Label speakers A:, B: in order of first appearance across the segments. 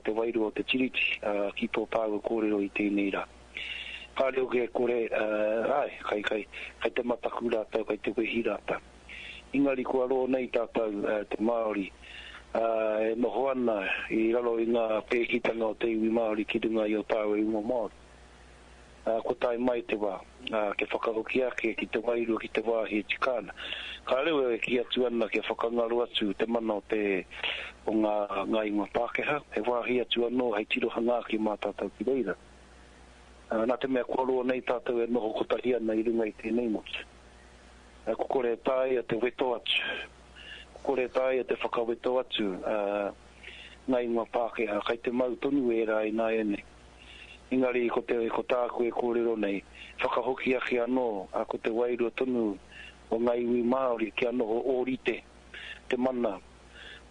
A: te wairua o te Tiriti ki tō tāua kōrero i tēnei rā. Kāre hoki e kore, āe, kai, kai, kai te mataku rātou, kai te wehi rātou. Engari kua roa nei tātou, te Māori, e noho ana i raro i ngā pēhitanga o te iwi Māori ki runga i ō tāua ingoa Māori. Kua tae mai te wā, kia whakahoki ake ki te wairua, ki te wāhi e tika ana. Kāre au e kī atu ana kia whakangaro atu te mana o te, o ngā, ngā ingoa Pākehā, he wāhi atu anō hei tirohanga ake mā tātou ki reira. Nā te mea kua roa nei tātou e noho kotahi ana i runga i tēnei motu. Kua kore e taea te weto atu, kua kore e taea te whakaweto atu ngā ingoa Pākehā, kei te mau tonu ērā ināianei. Engari ko te, ko tāku e kōrero nei, whakahoki ake anō, ā, ko te wairua tonu o ngā iwi Māori kia noho ōrite te mana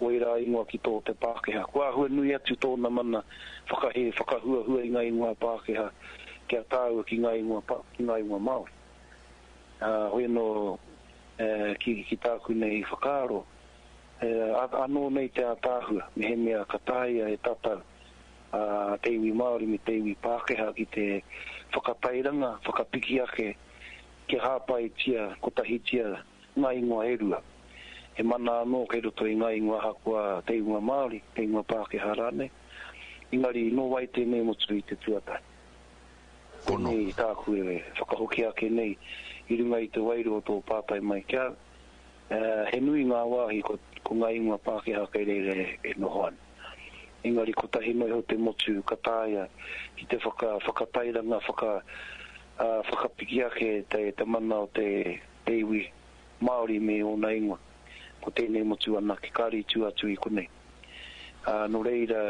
A: o ērā ingoa ki tō te Pākehā. Kua āhua nui atu tōna mana whakahē, whakahuahua i ngā ingoa Pākehā kia tāua ki ngā ingoa, ki ngā ingoa Māori. Ā, hoi anō, ki, ki tāku nei whakaaro, anō nei te ātaahua, mehemea ka taea e tātou a te iwi Māori me te iwi Pākehā ki te whakatairanga, whakapiki ake kia hāpaitia kotahitia ngā ingoa e rua. He mana anō kei roto i ngā ingoa ahakoa te ingoa Māori, te ingoa Pākehā rānei. Engari nō wai tēnei motu i te tuatahi?
B: Pono.
A: Koinei tāku e whakahoki ake nei i runga i te wairua o tō pātai mai ki a au. He nui ngā wāhi ko ngā ingoa Pākehā kei reira e noho ana. Engari kotahi noa iho te motu ka taea ki te whaka, whakatairanga, whaka, whakapiki ake te, te mana o te, te iwi Māori me ōna ingoa. Ko tēnei motu anake, kāre i tua atu i konei. Ā, nō reira,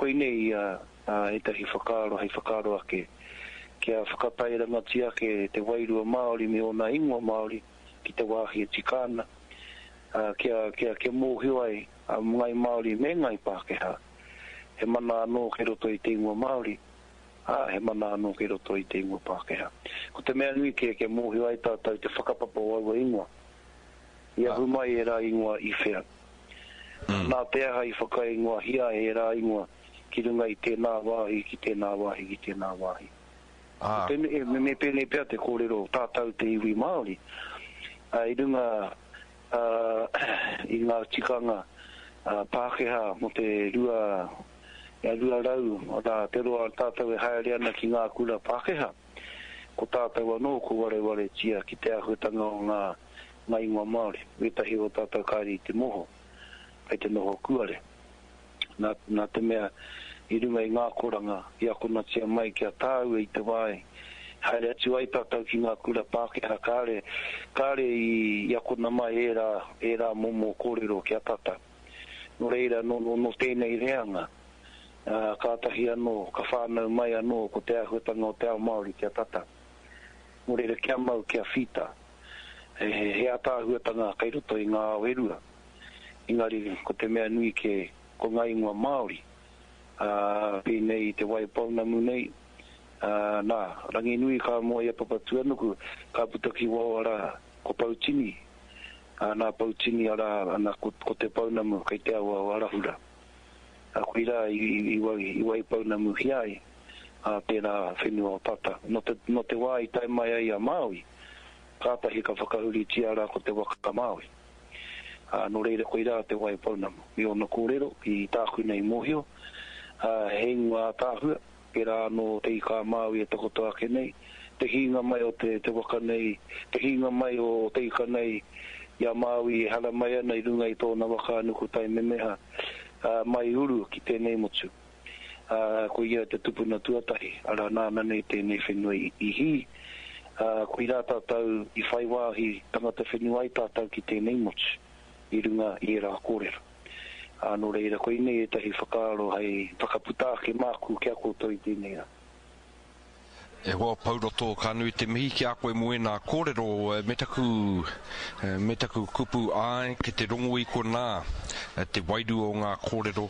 A: koinei ia ētahi whakaaro hei whakaaro ake kia whakatairangatia ake te wairua Māori me ōna ingoa Māori ki te wāhi e tika ana, ā, kia, kia, kia mōhio ai a Ngai Māori me Ngai Pākehā, he mana anō kei roto i te ingoa Māori, ā, he mana anō kei roto i te ingoa Pākehā. Ko te mea nui kē kia mōhio ai tātou te whakapapa o aua ingoa. I ahu mai ērā ingoa i whea? Nā te aha i whakaingoahia ai ērā ingoa ki runga i tēnā wāhi, ki tēnā wāhi, ki tēnā wāhi?
B: Ā.
A: Pēnei, me pēnei pea te kōrero tātou te iwi Māori, ā, i runga i ngā tikanga Pākehā mō te 200 rā te roa tātou e haere ana ki ngā kura Pākehā, ko tātou anō ko warewaretia ki te āhuatanga o ngā ngā ingoa Māori. Wētahi o tātou kāre i te moho, kei te noho kuare. Nā, nā te mea i runga i ngā akoranga i akonatia mai ki a tāua i te wā i haere atu ai tātou ki ngā kura Pākehā kāre, kāre i, i akona mai ērā, ērā momo kōrero ki a tātou. Nō reira, nō, nō, nō tēnei reanga, ā, kātahi anō, ka whānau mai anō ko te āhuatanga o te ao Māori ki a tātou. Nō reira, kia mau, kia whita. He, he, he ātaahuatanga kei roto i ngā ao e rua. Engari, ko te mea nui kē, ko ngā ingoa Māori, ā, pēnei i Te Waipounamu nei, ā, nā, Ranginui ka moe i a Papatūānuku, ka puta ki waho arā, ko Poutini, ā, nā Poutini arā, ana, ko, ko Te Pounamu kei te awa o Arahura. Ā, koirā i, i, i, i Waipounamuhia ai, ā, tērā whenua o tata. Nō te, nō te wā i tae mai ai a Māui, kātahi ka whakahuritia rā ko te waka Māui. Ā, nō reira koirā te wai pounamu. Me ōna kōrero, i tāku nei mōhio, ā, he ingoa ātaahua, pērā anō te ika a Māui e takoto ake nei, te hīnga mai o te, te waka nei, te hīnga mai o te ika nei i a Māui e haramai ana i runga i tōna waka a Nukutaimemeha, ā, mai uru ki tēnei motu. Ā, ko ia te tupuna tuatahi, arā, nāna nei tēnei whenua i, i hī, ā, koirā tātou i whai wāhi tangata whenua ai tātou ki tēnei motu, i runga i ērā kōrero. Ā, nō reira, koinei ētahi whakaaro hei whakaputa ake māku ki a koutou i tēnei rā.
B: E hoa Pouroto, ka nui te mihi ki a koe mō ēnā kōrero, me taku, me taku kupu āe, ki te rongo i konā te wairua o ngā kōrero,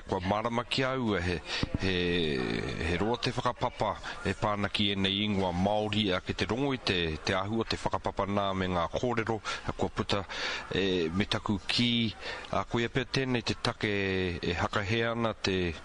B: kua mārama ki a au he, he, he roa te whakapapa e pā ana ki ēnei ingoa Māori, ki te rongo i te, te āhua o te whakapapa nā me ngā kōrero kua puta, me taku kī, koia pea tēnei te take e hakahē ana te.